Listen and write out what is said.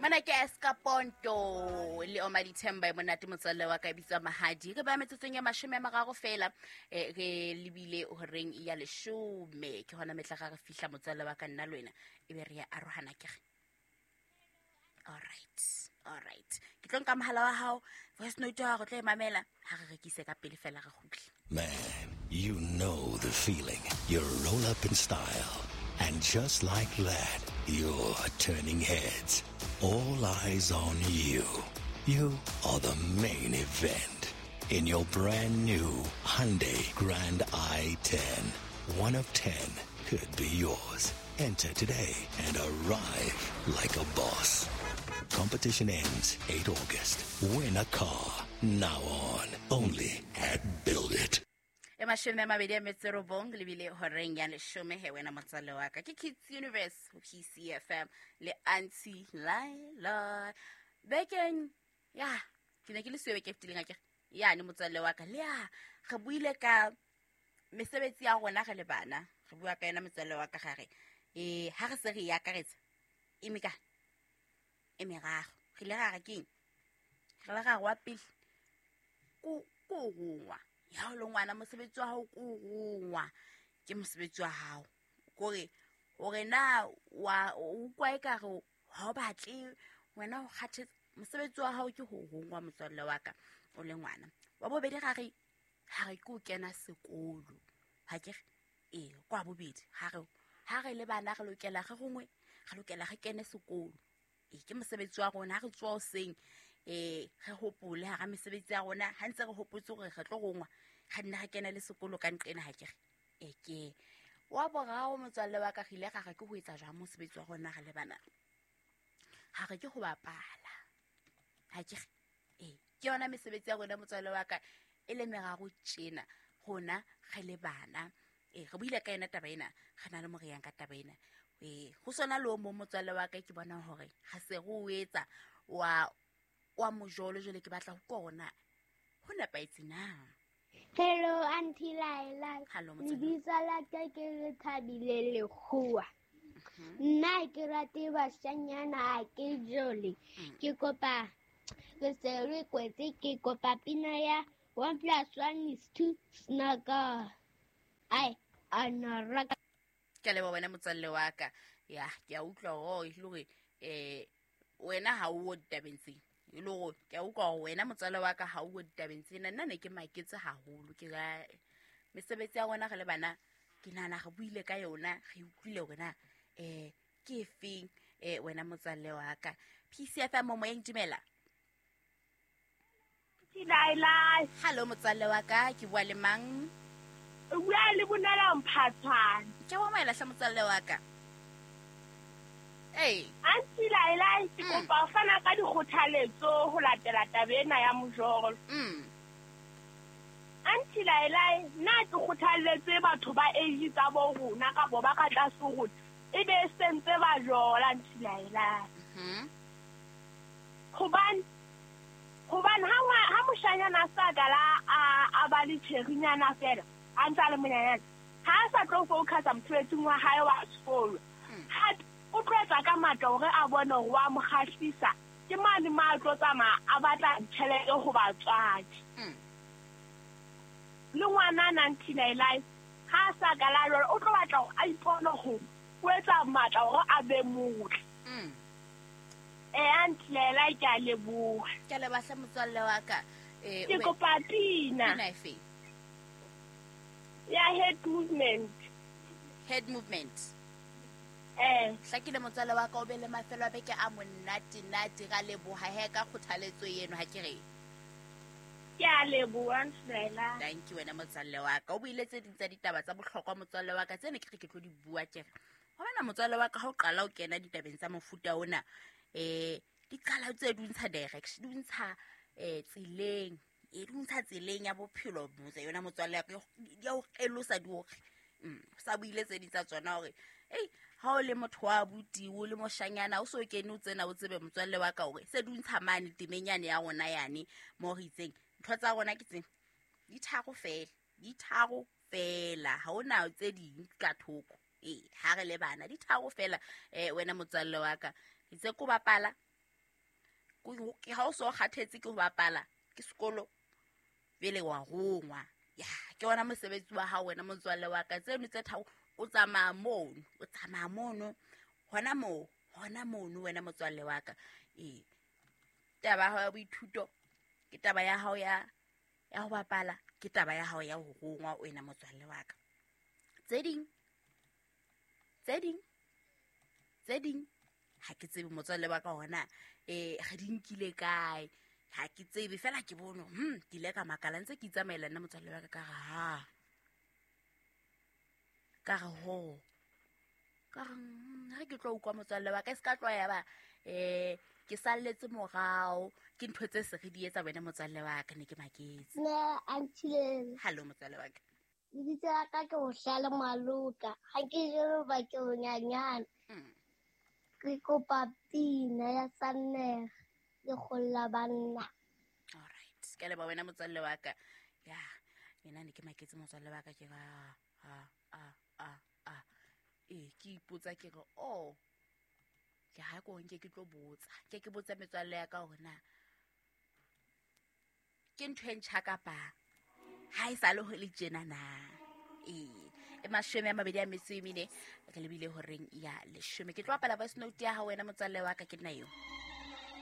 Mana ke Escaponto le Oma Dithemba e monate motswalle wa ka e bitswa Mahadi. Re ba metsotsong ya 30 fela re lebile horeng ya 10 ke hona metla ga re fihla motswalle wa ka nna le wena e be re ya arohana ke re. All right, all right. Ke tlo nka mohala wa hao, voice note ya hao re tlo e mamela ha re rekise ka pele fela re kgutle. Man, you know the feeling. You roll up in style. And just like that, you're turning heads. All eyes on you. You are the main event. In your brand new Hyundai Grand i10, 1 of 10 could be yours. Enter today and arrive like a boss. Competition ends 8 August. Win a car now on only at Build It. E 29 lebile horeng ya 10 he wena motswalle wa ka ke Kids Universe ho PCFM le Auntie Laila. Bekeng ya ke ne ke le siyo beke e fetileng akere ya ne motswalle wa ka le ya re buile ka mesebetsi ya rona re le bana re bua ka yona motswalle wa ka ga re ha re se re e akaretsa e meka e meraro re ile ra re keng re le ra re wa pele ko rongwa ya o le ngwana mosebetsi wa hao ko rongwa ke mosebetsi wa hao kore hore na wa o utlwa ekare ha o batle wena o kgathetse mosebetsi wa hao ke ho rongwa motswalle wa ka o le ngwana. Wa bobedi ga re ke o kena sekolo ha ke re kwa bobedi ha re le bana re lokela re gongwe re lokela re kene sekolo ke mosebetsi wa rona ha re tswa hoseng re hopole ha mesebetsi ya rona ha ntse re hopotse hore re tlo rongwa ga nna re kena le sekolo ka nqena ha ke re ke wa boraro motswalle wa ka re ile ra re ke ho etsa jwang mosebetsi wa rona re le bana ha re ke ho bapala ha ke re ke yona mesebetsi ya rona motswalle wa ka e le meraro tjena rona re le bana re buile ka yona taba ena re na le mo re yang ka taba ena ho sona le o mong motswalle wa ka ke bona hore ha se re o etsa wa mojolo jwale ke batla ho kona ho nepahetse na. Hello Auntie Laila. Hello motswalle. Lebitso la ka ke Lethabile Lekgowa. Nna ke rate bashanyana ha ke jole. Ke kopa re se re kwetse ke kopa pina ya 1 + 1 is 2 snaka. Ai anaraka. Ke leboha wena motswalle wa ka. Ya ke a utlwa hore e le hore wena ha o ditabeng tsena. E le hore ke a utlwa hore wena motswalle wa ka ha o ditabeng tsena. Nna ne ke maketse haholo ke ra mesebetsi ya rona re le bana ke nahana re buile ka yona re utlwile hore na ke efeng wena motswalle wa ka. PCFM mo moyeng dumela. Laila. Hello motswalle wa ka ke bua le mang? O bua le Bonela Mphathwane. Ke wa maela hle motswalle wa ka. Hey. Auntie Laila ke kopa ho fana ka dikgothaletso ho latela taba ena ya mojolo. Auntie Laila nna ke kgothalletse batho ba age tsa bo rona kapa ba ka tlase ho rona e be sentse ba jola Auntie Laila. Hobane ha moshanyana a sa kala a ba le tsherinyana fela a ntse a le monyanyana ha a sa tlo focusa mosebetsing wa hae wa sekolo ha o tlo etsa ka matla hore a bone hore wa mo kgahlisa ke mane ma tlo tsamaya a batla tjhelete ho batswadi. Le ngwana Auntie Laila ha a sa kala jwalo o tlo batla hore a ipone hore o etsa matla hore a be motle. Auntie Laila ke a leboha. Ke a leboha hle motswalle wa ka. Ke kopa pina. Pina efe? Ya head movement. Head movement. Hlakile motswalle wa ka o be le mafelo a beke a monate nate ra leboha he ka kgothaletso eno ha ke re. Ke a leboha Auntie Laila. Thank you wena motswalle wa ka. O buile tse ding tsa ditaba tsa bohlokwa motswalle wa ka tsene ke re ke tlo di bua ke re. Hobane motswalle wa ka ha o qala o kena ditabeng tsa mofuta ona di qala tse di ntsha direction di ntsha tseleng e di ntsha tseleng ya bophelo motse yona motswalle wa ka di a o elosa di hore sa buile tse ding tsa tsona hore ei ha o le motho wa abuti o le moshanyana o so kene o tsena o tsebe motswalle wa ka hore se di ntsha mane temeng yane ya rona yane mo re itseng ntho tsa rona ke tsena di tharo fela ha ona tse ding ka thoko ha re le bana di tharo fela wena motswalle wa ka itse ko bapala Ke ha o so kgathetse ke ho bapala ke sekolo, pele wa rongwa. Ya, ke ona mosebetsi wa hao wena motswalle wa ka. Tseno tse tharo o tsamaya mono, o tsamaya mono, hona moo, hona mono wena motswalle wa ka. Ee, taba ya hao ya boithuto, ke taba ya hao ya ho bapala, ke taba ya hao ya ho rongwa wena motswalle wa ka. Tse ding, tse ding, tse ding, ha ke tsebe motswalle wa ka hona re di nkile kae, ha ke tsebe fela ke bone, ke ile ka makala ntse ke itsamaela nna motswalle wa ka, ka re ha, ka re ho, ka re, ha ke tlo utlwa motswalle wa ka, e se ka tloha ya ba, ke salletse morao, ke ntho tse se re di etsa wena motswalle wa ka, ne ke maketse. Ne, Auntie. Hello motswalle wa ka. Lebitso la ka ke Bohlale Maloka. Ha ke jele ba ke bonyanyana. Ke kopa pina ya Sannere lekgolla banna. All right. Ke leboha wena motswalle wa ka. Ya, yena ne ke maketse motswalle wa ka, ke re, a, a, a, a. Ee, ke ipotsa ke re, oh, ke ha ko nke ke tlo botsa. Ke ke botsa metswalle ya ka hore na ke ntho e ntjha kapa ha e sa le ho le tjena na. Ee, e 24 re lebile horeng ya 10. Ke tlo bapala voice note ya hao wena motswalle wa ka, ke nna eo.